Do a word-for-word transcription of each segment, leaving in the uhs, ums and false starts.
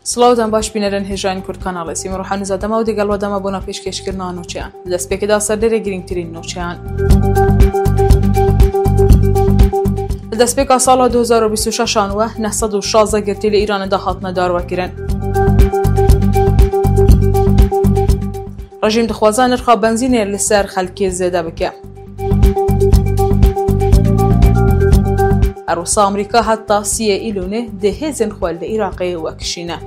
Silav dan baş bînerên hêjayên Kurd Kanalê. Sîmon Ruhanî Zadema û digel we dema bona pêşkêşkirina nûçeyan. Di destpêkê de serdêrê girîngtirîn nûçeyan. Li destpêka sala du hezar û bîst û şeş an we neh sed û şazdeh girtî li Îranê de hatine darvekirin. Rejîm dixwaze nirxa benzînê li ser xelkê zêde bike. Her wisa Amerîka heta siyê Îlûnê dê hêzên xwe li Iraqê wekişîne.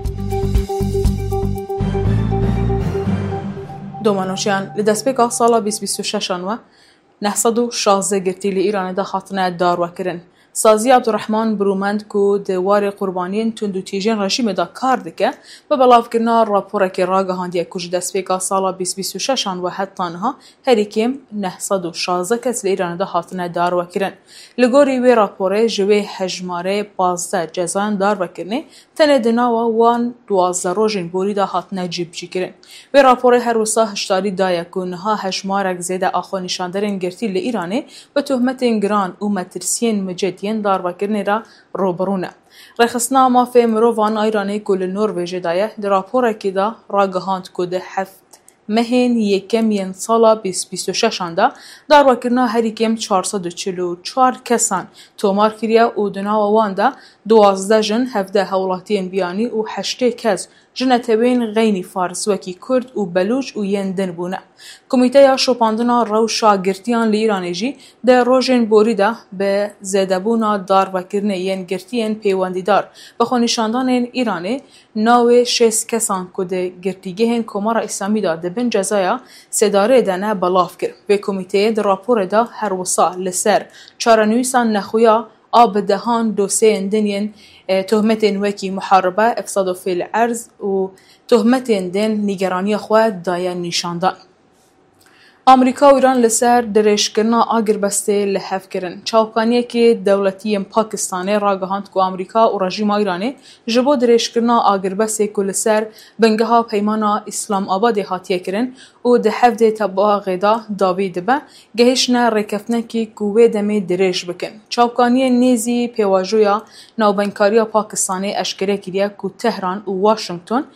Domanoçiyan li destpêka sala bîst bîst û şeş an we neh sed û şazdeh girtî li Îranê de hatine darwekirin. Sazî Abdurrahman Birûmend ku di warê qurbaniyên tundûtîjiyên rejîmê de kar dike, bi belavkirina raporekê ragihandiye ku ji destpêka sala bîst bîst û şeş an we heta niha herî kêm neh sed û şazdeh kes li Îranê de hatine darwekirin. Li gorî wê raporê ji wê hejmarê pazdeh cezayan darvekirinê tenê di nava wan duwazdeh rojên borî de hatine cîbicîkirin. Wê raporê her wisa hişdarî daye ku niha hejmarek zêde a xwenîşanderên girtî li Îranê bi tohmetên giran û metirsiyên miced yên darvekirinê re rûbirû ne. Rêxistina Mafê Mirovan a Îranê ku li Norvêjê de ye, di raporekê de ragihand ku di heft mehên yekem yên sala bîst bîst û şeş an de darwekirina herî kêm çar sed û çil û çar kesan tomar kiriye û di nava wan de duwazdeh jin, hevdeh hewlatiyên biyanî û heştê kes ji netewên xeynî fars wekî kurd û belûç û yên din bûne. Komîteya Şopandina Rewşa Girtiyan li Îranê jî di rojên borî de bi zêdebûna darvekirinê yên girtiyên peywendîdar bi xwenîşandanên Îranê navê şêst kesan ku di girtîgehên Komara Îslamî de di bin cezaya sêdarê de ne belav kir. Vê komîteyê di raporê de her wisa li ser çarenivîsa nexuya a bi dehan dosyeyên din yên, e, tohmetên wekî muharibe, ifsad û fêl erz û tohmetên din nîgeraniya xwe daye nîşandan. Amerîka û Îran li ser dirêjkirina agirbestê li hev kirin. Çavkaniyekî dewletî yên Pakistanê ragihand ku Amerîka û rejîma Îranê ji bo dirêjkirina agirbestê ku li ser bingeha Peymana Îslamabadê hatiye kirin û di hevdê tebaxê de dawî dibe, gehiştine rêkeftinekî ku wê demê dirêj bikin. Çavkaniyên nêzî pêvajoya navbeynkariya Pakistanê eşkere kiriye ku Tehran û Washington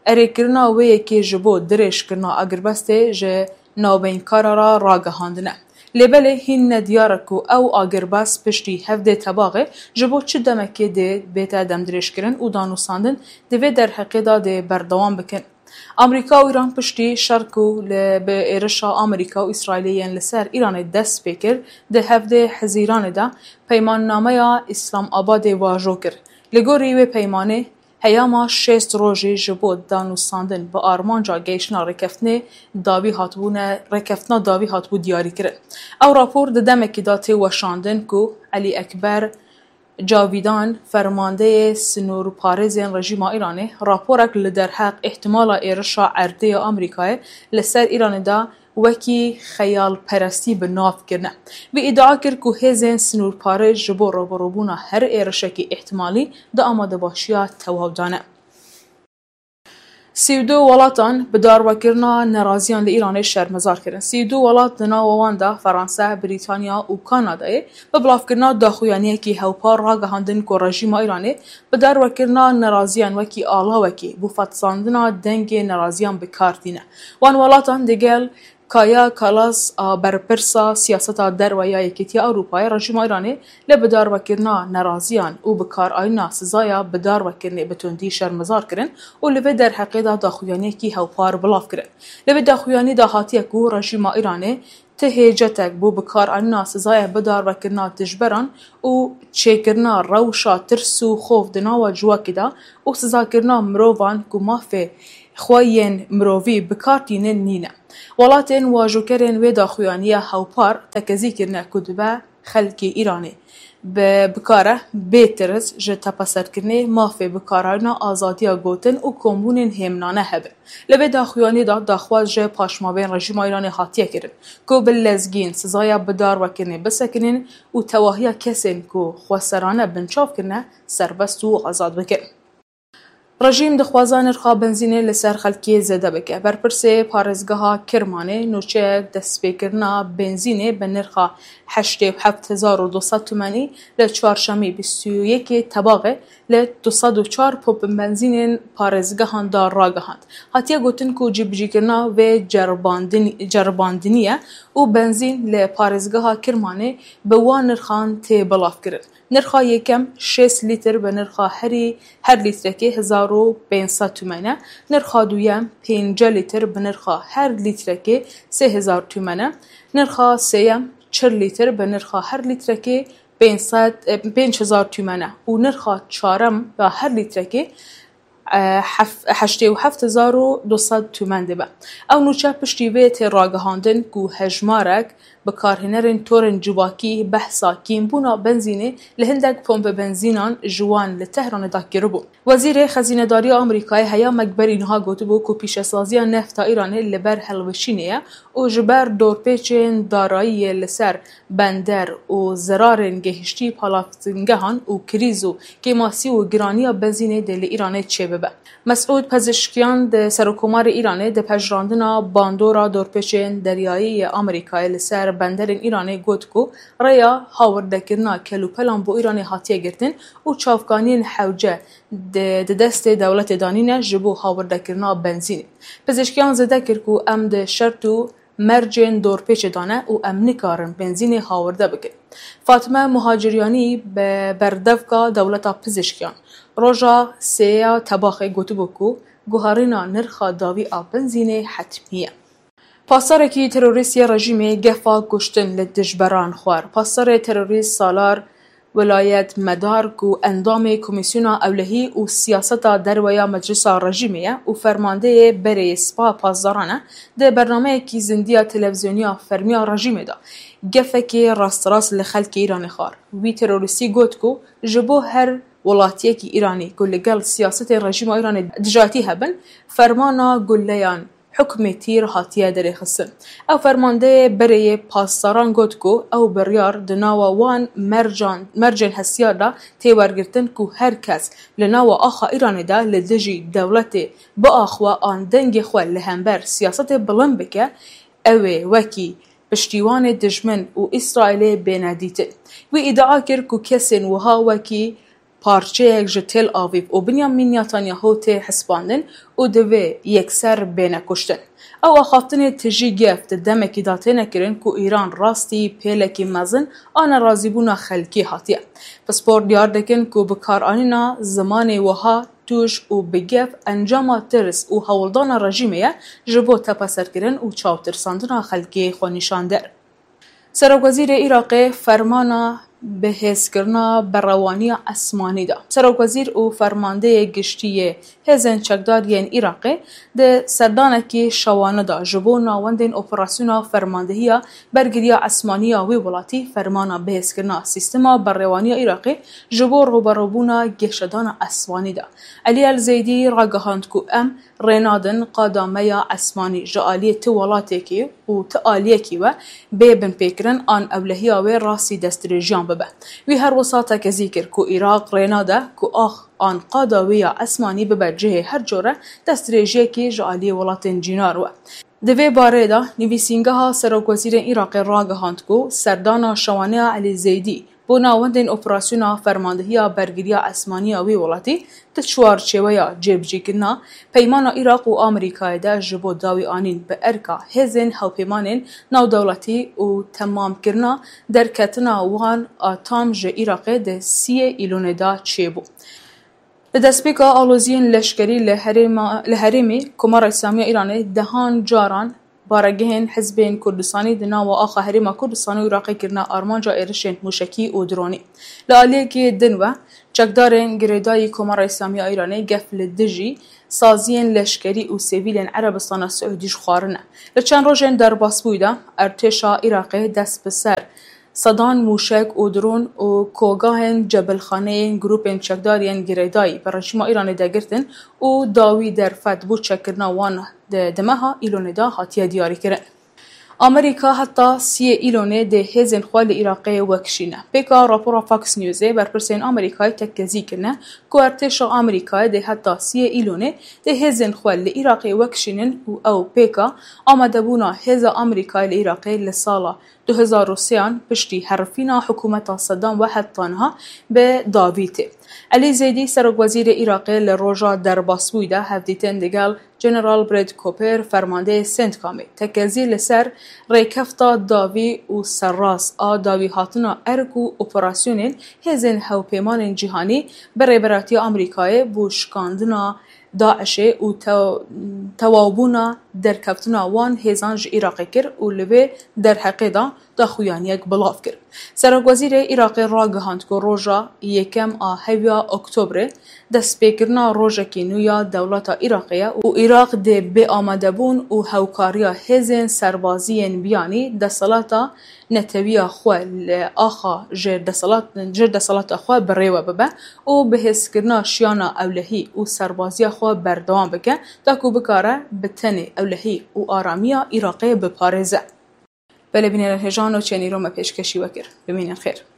erêkirina wê yekê ji bo dirêjkirina agirbestê ji navbeynkara re ragihandine. Lê belê hîn ne diyar e ku ew agirbest piştî hevdê tebaxê ji bo çi demekê dê bête demdirêjkirin û danûstandin di vê derheqê de dê berdewam bikin. Amerîka û Îran piştî şer ku li bi êrişa Amerîka û Îsraîlê yên li ser Îranê dest pê kir, di hevdê Hezîranê de peymannameya Îslamabadê vajo kir. Li gorî wê peymanê, heyama şêst rojê ji bo danûstandin bi armanca gehiştina rêkeftinê dawî hatibûne, rêkeftina dawî hatibû diyarîkirin. Ew rapor di demekî de tê weşandin ku Elî Ekber Cavîdan, fermandeyê sinûrparêzên rejîma Îranê, raporek li derheq îhtimala êrişa erdê ya Amerîkayê li ser Îranê de wekî xeyalperestî bi nav kirine. Wî îdia kir ku hêzên sinûrparêz ji bo rûbirûbûna her êrişekî îhtimalî di amadebaşiya tewaw de ne. Sî û du welatan bi darwekirina neraziyan li Îranê şermezar kirin. Sî û du welat, di nava wan de Fransa, Brîtanya û Kanadayê, bi bilavkirina daxuyaniyekî hewpar ragihandin ku rejîma Îranê bi darwekirina neraziyan wekî alawekê bo fetisandina dengê neraziyan bi kar tîne. Wan welatan digel Kaja Kallas a berpirsa siyaseta derve ya Yekîtiya Ewropayê, rejîma Îranê li bidarvekirina neraziyan û bikaranîna sizaya bidarvekirinê bi tundî şermezar kirin û li vê derheqê de daxuyaniyekî hewpar belav kirin. Li vê daxuyanî de hatiye ku rejîma Îranê ti hêcetek bo bikaranîna sizaya bidarvekirina dijberan û çêkirina rewşa tirs û xof di nava civakê de û sizakirina mirovan ku mafê xwe yên mirovî bi kar tînin nîne. Welatên wajokerên wê daxuyaniyê hewpar tekezî kirine ku dibe xelkê Îranê bi bikare bê tirs ji tepeserkirinê mafê bikaranîna azadiya gotin û kombûnên hêmnane hebin. Li vê daxuyanî de daxwaz ji paşmavên rejîma Îranê hatiye kirin ku bi lezgîn sizaya bidarvekirinê bisekinin û tewahiya kesên ku xweserane binçav kirine serbest û azad bikin. Rejîm dixwaza nirxa benzînê li ser xelkê zêde bike. Berpirsê parêzgeha Kirmanê nûçeyek destpêkirina benzînê bi nirxa heştê û heft hezar û du sed tumenî li çarşemî bîst û yekê Tebaxê li du sed û çar pompên benzînên parêzgehan de ragihand. Hatiye gotin ku cîbicîkirina vê ceribandin-, ceribandinî ye û benzîn li parêzgeha Kirmanê bi wan nirxan tê belavkirin. Nirxa yekem şêst lîtir bi nirxa herî, her lîtrekê hezar û pênc sed tûmen e. Nirxa duyem pêncî lîtir bi nirxa her lîtrekê sê hezar tûmen e. Nirxa sêyem çil lîtir bi nirxa her lîtrekê pênc sed, e, pênc hezar tûmen e û nirxa çarem ya her lîtrekê, e, hef-, heştê û heft hezar û du sed tûmen dibe. Ew nûçe piştî vê tê ragihandin ku hejmarek bikarhênerên torên civakî behsa kêmbûna benzînê li hindek pompe benzînan ji wan li Tehranê de kiribûn. Wezîrê Xezînedariya Amerîkayê heya me berî niha gotibû ku pîşesaziya nefta Îranê li ber hilweşînê ye û ji ber dorpêçên darayiyê li ser bender û zerarên gehiştî palavtingehan û krîz û kêmasî û giraniya benzînê dê li Îranê çêbibe. Mesûd Pezişkiyan di Serokkomarê Îranê di pejirandina bandora dorpêçên deryayî yê Amerîkayê li ser benderên Îranê got ku rêya hawirdekirina kelûpelan bo Îranê hatiye girtin û çavkaniyên hewce di, di destê dewletê de nîne ji bo hawirdekirina benzînê. Pezişkiyan zêde kir ku em di şert û mercên dorpêçê de ne û em nikarin benzînê hawirde bikin. Fatime Muhaciryanî bi berdevka dewleta Pizişkiyan roja sêya Tebaxê gotibû ku guherîna nirxa dawî a benzînê hetmî ye. Pasdarekî terorîst yê rejîmê gefa kuştin li dijberan xwar. Pasdarê terorîst Salar Welayet Medar ku endamê Komîsyona Ewlehî û Siyaseta Derve ya Meclisa Rejîmê ye û fermandeyê berê yê Sipaha Pasdaran e, di bernameyekî zindiya televîzyonî ya fermî ya rejîmê de gefekê rasterast li xelkê Îranê xwar. Wî terorîstî got ku ji bo her welatiyekî Îranî ku li gel siyasetên rejîma Îranê dijatî hebin, fermana guleyan hukmê tîr hatiye derêxistin. Ew fermandeyê berê yê pasdaran got ku ew biryar di nava wan mercan, mercên hestiyar de tê wergirtin ku her kes li nava axa Îranê de li dijî dewletê biaxwe an dengê xwe li hember siyasetê bilind bike, ew ê wekî piştîwanê dijmin û Îsraîlê bêne dîtin. Wî îdia kir ku kesên wiha wekî parçeyek ji Tel Avîv û Binyamin Netanyahu tê hesibandin û divê yekser bêne kuştin. Ew axaftinê tijî gef di demekî de têne kirin ku Îran rastî pêlekî mezin a nerazîbûna xelkî hatiye. Pispor diyar dikin ku bikaranîna zimanê wiha tûj û bi gef encama tirs û hewldana rejîmê ye ji bo tepeserkirin û çawtirsandina xelkê xwenîşander. Serokwezîrê Iraqê fermana bihêzkirina berewaniya esmanî da. Serokwezîr û fermandeyê giştî yê hêzên çekdar yên Iraqê di serdanekî şewane de ji bo navendên operasyona fermandehiya bergiriya esmanî ya wê welatî fermana bihêzkirina sîstema berewaniya Iraqê ji bo rûberûbûna geşedana esmanî da. Elî El Zeydî ragihand ku em rênadin qada me ya esmanî ji aliyê ti welatêkî û ti aliyekî we bê binpêkirin an ewlehiya wê rastî destdirêjiyan bibe. Wî her wisa tekezî kir ku Iraq rênade ku ax an qada wê ya esmanî bibe cihê her cure destdirêjiyekî ji aliyê welatên cînar we. Di vê barê de nivîsîngeha Serokwezîrên Iraqê ragihand ku serdana şewaneya Elî Zeydî bo navendên operasyona fermandehiya bergiriya esmanî ya wê welatî di çarçeweya cêbicîkirina Peymana Iraq û Amerîkayê de ji bo dawîanîn bi erka hêzên hevpeymanên navdewletî û temamkirina derketina wan a tam ji Iraqê di siyê Îlonê de çêbû. Li destpêka aloziyên leşkerî li herêma, li herêmê Komara Îslamî ya Îranê dehan caran baregehên Hizbên Kurdistanî di nava axa Herêma Kurdistanê û Iraqê kirine armanca êrişên mûşekî û dronî. Li aliyekî din ve, çekdarên girêdayî Komara Îslamî ya Îranê gef li dijî saziyên leşkerî û sivîlên Erebistana Siûdî ji xwarine. Li çend rojên derbasbûyî de, ertêşa Iraqê dest bi ser sedan mûşek û dron û kogahên cebilxaneyên grûpên çekdar yên girêdayî bi rejîma Îranê de girtin û dawî derfet bo çekkirina wan di, di meha Îlonê de hatiye diyarîkirin. Amerîka heta siyê Îlonê dê hêzên xwe li Iraqê wekişîne. Pêka rapora Fox Newsê, berpirsên Amerîkayê tekkezî kirine ku artêşa Amerîkayê dê heta siyê Îlonê dê hêzên xwe li Iraqê wekişînin û ew pêka amadebûna hêza Amerîkayê li Iraqê li sala du hezar û sêyan piştî herifîna hikûmeta Sedam ve heta niha bi dawî tê. Elî Zeydî, serokwezîrê Iraqê, li roja derbasbûyî de hevdîtin digel General Brad Cooper, fermandeyê Centcomê, tekezî li ser rêkefta dawî û serrast a dawîhatina erk û operasyonên hêzên hevpeymanên cîhanî bi rêberatiya Amerîkayê bo şikandina DAIŞê û te-, tewawbûna derkeftina wan hêzan ji Iraqê kir û li vê derheqê de daxuyaniyek belav kir. Serokwezîrê Iraqê ragihand ku roja yekem a heviya Oktobrê destpêkirina rojekî nû ya dewleta Iraqê ye û Iraq dê bê amadebûn û hewkariya hêzên serbaziyên biyanî desthilata netewiya xwe li axa jêr desthilat-, jêr desthilata xwe bi rê we bibe û bihêzkirina şiyana ewlehî û serbaziya xwe berdewam bike, ta ku bikare bi tenê ewlehî û aramiya Iraqê biparêze. Belê bînerên hêja, nûçeyên îro me pêşkêşî we kir. Bimînin xêr.